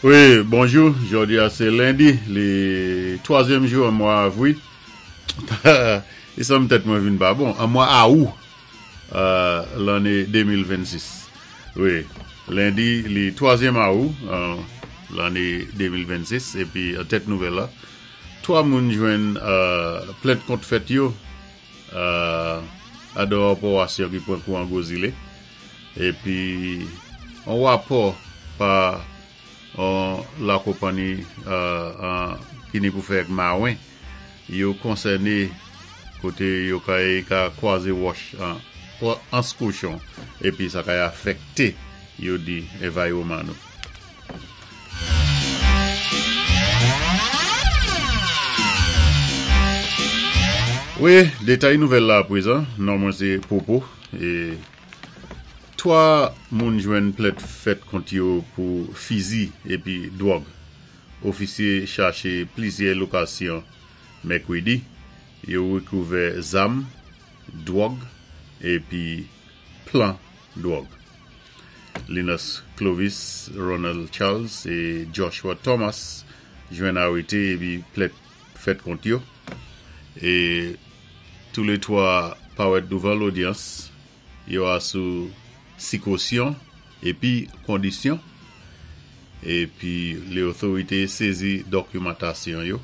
Wi, bonjou, jòdi a sé lendi, li twazyèm jou an mwa avwi. I sanm tèt mwen vin pa bon. An mwa awou lanné 2026. Wi, lendi li twazyèm awou lanné 2026 épi an tèt nouvèl la, 3 moun jwenn plent kont fèt yo adò opowasyon ki pran kou an Gwo Zile. Epi on wapò pa on lakonpanni ki ni pou fè ak mawen yo konsène kote yo kay ka kwaze wòch ans kochon epi sa kay afèkte yo di envaywoman nou. Wi, detay nouvèl la aprezan, non mwen se Popo e 3 moun jwenn plent fèt kont yo pou fizi epi dwòg. Ofisye chache plizyè lokasyon Mèkredi, yo rekouvè zam, dwòg epi plan dwòg. Linus Clovis, Ronald Charles e Joshua Thomas jwenn arete epi plent fèt kont yo. E tou le 3 parèt douvan lodyans, yo a sou sikosyon epi kondisyon. Epi le otorite sezi dokimantasyon yo,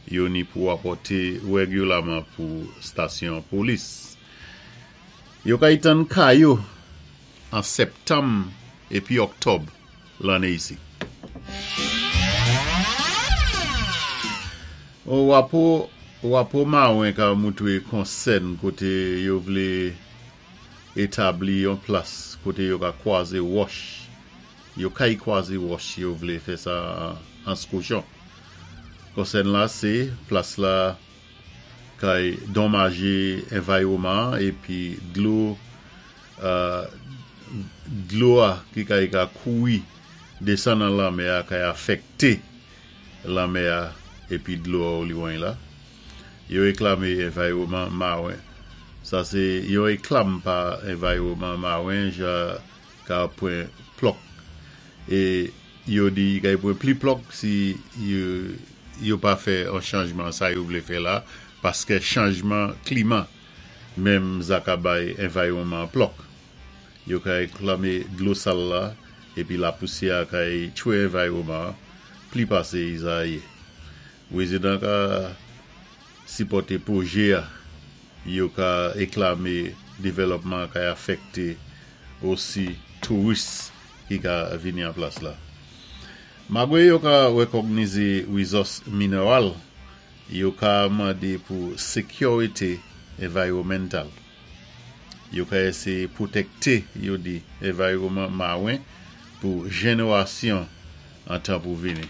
yo ni pou rapòte règilaman pou stasyon polis. Yo kay tann ka yo an septanm epi oktòb lanne isi. O Wapo Wapo Mawen ka moutre konsèn kote yo vle etabli yon plas kote yo ka kwaze wòch yo kay kwaze wòch yo vle fè sa ans kochon. Konsèn la se plas la Kay donmaje envaywoman an epi dlo dlo a ki kay ka kouri desann nan lanmè a kay afekte lanmè a epi dlo a oliwony la. Yo eklame envaywoman mawen. Sa se yon eklam pa envaywoman mawen ja ka pwen plòk e yo di kay pwen pli plòk si yo pa fè on chanjman sa yo vle fè la paskè chanjman klima menm za ka bay envaywoman an plòk. Yo ka eklame dlo sal la epi lapousyè a kay tchwe envaywoman an pli pase iza ye. Rezidan ka sipòte pwoje a, yo ka eklame devèlòpman an kay afekte osi touris ki ka vini an plas la. Magre yo ka rekògnize rizòs mineral, yo ka mande pou sekyorite envaywomental. Yo ka eseye pwotekte, yo di, envaywoman mawen pou jenerasyon an tan pou vini.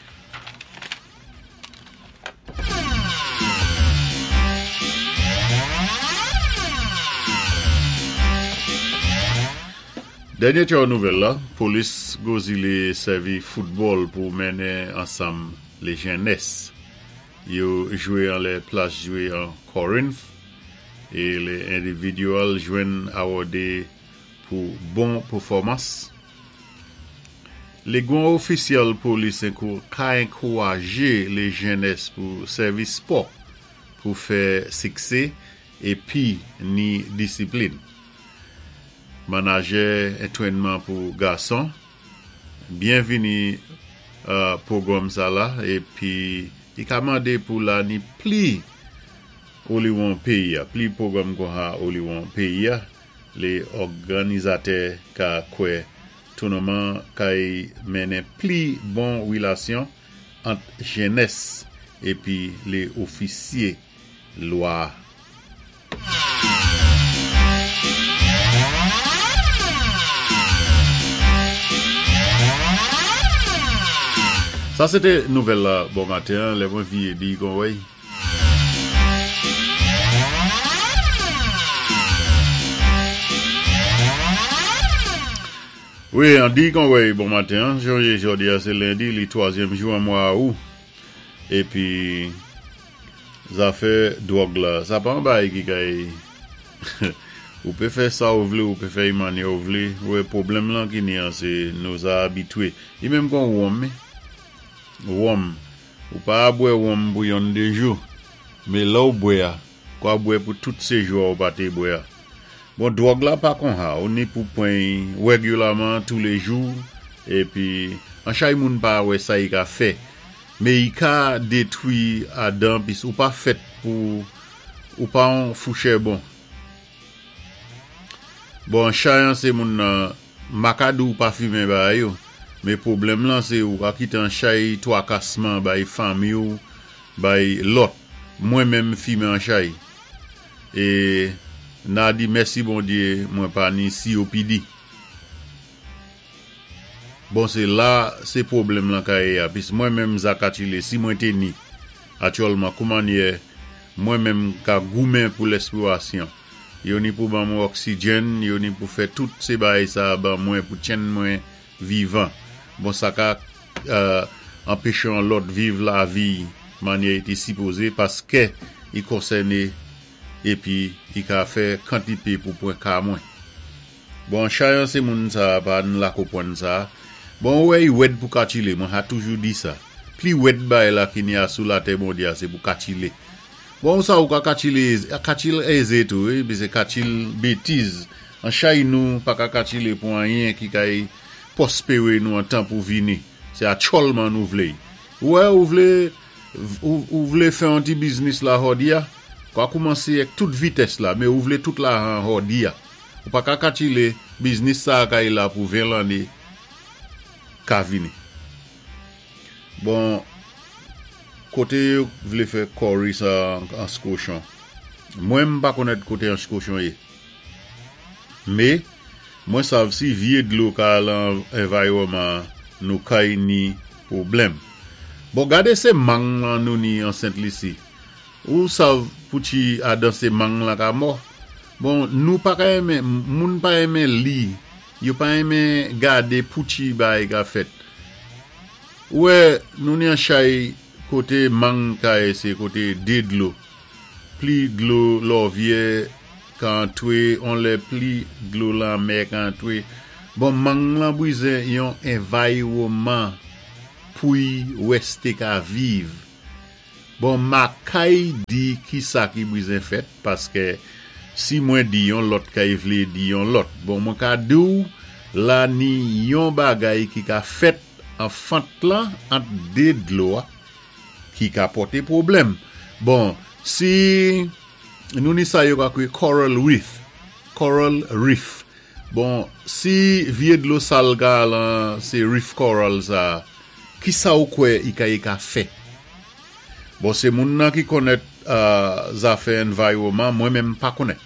Dènye tchò nouvèl la, polis Gwo Zile sèvi foutbòl pou mennen ansanm le jennès. Yo jwe anlè plas jwe an Corinth e le individual jwenn awòde pou bon pefòmans. Le gwan ofisyèl polis ka enkouraje le jennès pou sèvi spò pou fè siksé epi ni disiplin. Manajè entwennman pou gason Byenvini pwogwanm sa la epi i ka mande pou la ni pli oliwon peyi a pli pwogwanm konha oliwon peyi a le òganizatè ka kwè tounoman kay mennen pli bon rilasyon ant jennès epi le ofisye lwa a. Sa se te nouvèl la bon maten an lè mwen vye di kon wey. Wi an di kon wey bon maten an jodi jodi a se lendi li twazyèm jou an mwa awou epi Zafè dwòg la, sa pa yon bagay ki kay ou pe fè sa ou vle, ou pe fè y mannyè ou vle, ou wè pwoblèm lan ki ni an se nou za abitwe. Li menm kon wonm mi. Wonm, ou pa a bwè wonm pou yonn dé jou, mé lè ou bwè a, kwa bwè pou tout sé jou a ou pa té bwè a. Bon dwòg la pa konha, ou ni pou pwan-y wègilaman toulé jou, épi anchay moun pa wè sa y ka fè, mé y ka détwi adan pis ou pa fèt pou ou pa on fouchè bon. Bon anchay an sé moun nan ma ka di w pa fimen bagay yo, mé pwoblèm lan sé ou ka kité anchay twakasman bay fanmi w, bay lòt, mwen menm fimen anchay. E na di mèsi Bondye mwen pa ni COPD. Bon se la se pwoblèm lan ka ye a pis mwen menm Zakatile si mwen te ni atyòlman koumanyè mwen menm ka goumen pou lèspirasyon yo ni pou ban mwen oksijenn yo ni pou fè tout se bagay sa ban mwen pou tchenn mwen vivan bon sa ka anpeche yon lòt viv lavi manyè i te sipoze paskè i konsène epi i ka fè kantite pou pwen ka mwen. Bon chayan se moun sa pa n la konpwann sa. Bon ou wè i wèd pou katile mwen ha toujou di sa. Pli wèd bay la ki ni a sou latè Bondye a se pou katile. Bon ou sa ou ka katile katil eze tou wi pi se katil betiz. An chay nou pa ka katile pou anyen ki kay pwospere nou an tan pou vini. Se atchòlman nou vle. Ou wè ou vle ou vle fè yon ti biznis la hòdi a, kwa koumanse ak tout vitès la men ou vle tout lajan hòdi a. Ou pa ka katile biznis sa a kay la pou 20 lanne ka vini. Bon kote yo vle fè kòri sa ans kochon. Mwen m pa konèt kote ans kochon ye. Me mwen sav si vye dlo ka lan envaywoman an nou kay ni pwoblèm. Bon gade se mang lan nou ni an Sent Lisi. Ou sav pou ti adan se mang lan ka mò. Bon nou pa ka renmen moun pa renmen li yo pa renmen gade pouti bagay ka fèt ou wè nou ni an chay kote mang kaye se kote de dlo pli dlo lòvyè ka antre on lè pli dlo lanmè ka antre bon mang lan brize yon envaywoman pouy wèste ka viv. Bon makay di kisa ki brizen fèt paskè si mwen di yon lòt kay vle di yon lòt bon mwen ka diw la ni yon bagay ki ka fèt an fant lan ant de dlo a ki ka pòte pwoblèm bon si nou ni sa yo ka kwe coral reef coral reef bon si vye dlo sal ka lan se reef coral sa Kisa ou kwè i ka i ka fè? Bon se moun nan ki konnèt zafè environman mwen menm m pa konnèt.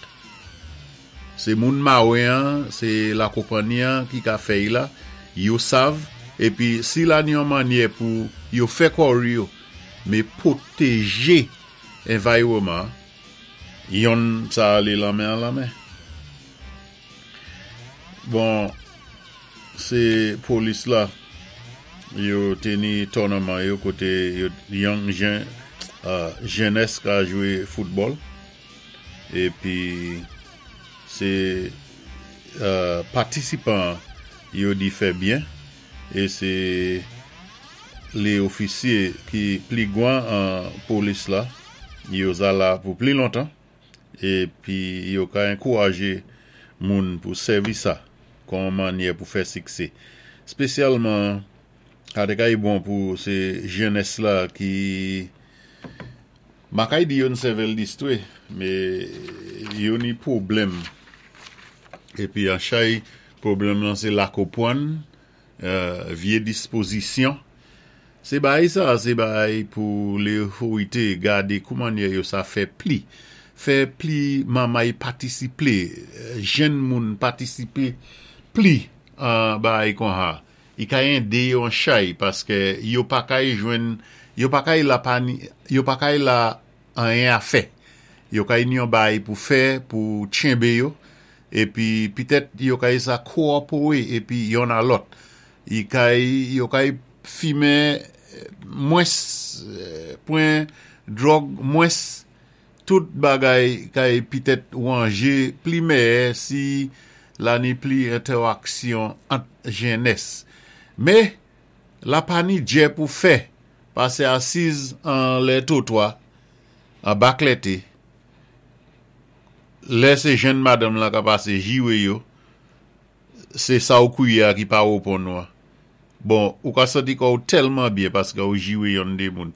Se moun mawen an, se la konpanni an ki ka fè i la, yo sav, epi si la ni yon mannyè pou yo fè kòri yo, me pwoteje environman an, yonn sa ale lanmen an lanmen. Bon se polis la yo te ni tournament yo kote yo young jen jenès ka jwe football epi se patisipan yo di fè byen e se le ofisye ki pli gwan an polis la yo za la pou pli lontan. Epi yo ka enkouraje moun pou sèvi sa kon yon mannyè pou fè siksé. Spesyalman, sa te kay bon pou se jenès la ki ma kay di yo n sèvèl distre, me yo ni pwoblèm. Epi an chay, pwoblèm lan se lakopwann Vye dispozisyon. Se bagay sa a se bagay pou leoforite gade koumanyè yo sa fè pli. Fè pli manmay patisiple, jenn moun patisipe pli an bagay konha. I ka ende yo an chay paske yo pa kay jwenn, yo pa kay la pa ni, yo pa kay la anyen a fè. Yo kay ni yon bagay pou fè pou tchenbe yo. Epi pitèt yo kay sa kowòpore epi yonn a lòt. Y kay yo kay fimen mwens pwen dròg mwens tout bagay kay pitèt wanje pli mèyè si la ni pli entèwaksyon ant jenès. Me la pa ni djè pou fè. Pasé asiz anlè twotwa, anba klèté. Lè sé jenn madanm lan ka pasé jiwé yo, sé sa ou kwié a ki pa woponn ou an. Bon, ou ka santi kò ou tèlman byen paskè ou jiwé yonn dé moun.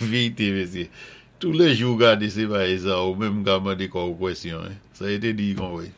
Vérité mesyé. Tou lè jou ou gadé sé bagay sa ou menm ka mandé kò ou kwèsyon. Sa yo té di kon wé.